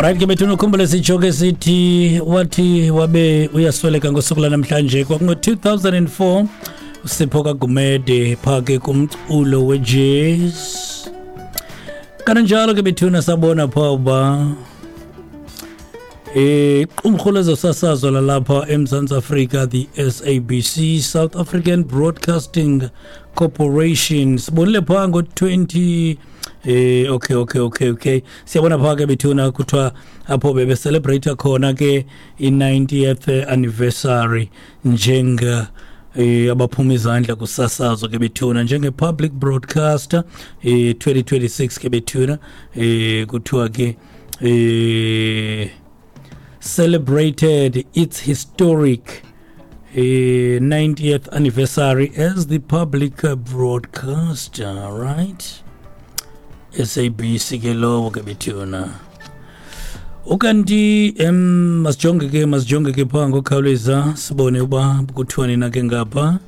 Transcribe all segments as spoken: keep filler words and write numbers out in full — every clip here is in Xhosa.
Alright ke bethuna, ukhumbule sitsho ke sithi wathi wabe uyasweleka ngosuku lanamhlanje kwakungo-two thousand and four uSipho kaGumede phaa ke kumculo we-jazz. Kananjalo ke bethuna sabona phaa uba iqumrhu lezosasazo lalapha eMzantsi Afrika, the S A B C, South African Broadcasting Corporation, sibonile phaa ngo-twenty eh okay okay okay okay siyabona phaa ke bethuna kuthiwa apho bebe-celebrate khona ke i-ninetieth anniversary njenga eh abaphuma izandla kusasazo ke bethuna njenge public broadcaster eh twenty twenty-six ke bethuna eh kuthiwa ke eh celebrated its historic eh, ninetieth anniversary as the public broadcaster, right? S A B C ke lowo ke bethuna. Ukanti em masijonge ke masijonge ke phaa ngokukhawuleza sibone uba kuthiwani na ke ngapha.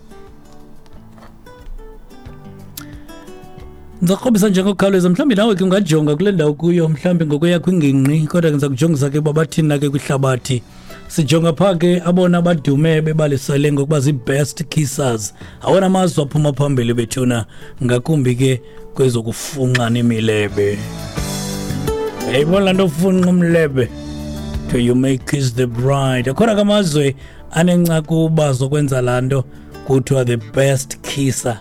Ndizakrobisa nje ngokukhawuleza, mhlawumbi nawe ke ungajonga kule ndawo kuyo, mhlawumbi ngokuya kwingingqi, kodwa ke ndiza kujongisa ke uba bathini na ke kwihlabathi. Sijonga phaa ke abona badume bebalisele ngokuba zii-best kissers, awona mazwe aphuma phambili bethuna, ngakumbi ke kwezokufunxa imilebe. Yayibona laa nto ufunxa umlebe, to you may kiss the bride. Akhona ke amazwe anencakuba zokwenza laa nto kuthiwa the best kisser.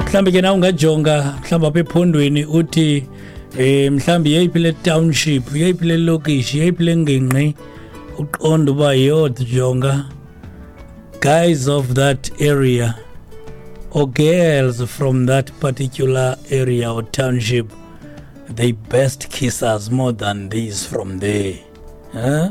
Mhlawumbi ke nawe ungajonga mhlawumbi apha ephondweni uthi eh mhlawumbi yeyiphi le township, yeyiphi le lokishi, yeyiphi le ngingqi, uqonde uba yho jonga guys of that area or girls from that particular area or township, they best kiss us more than these from there. Huh?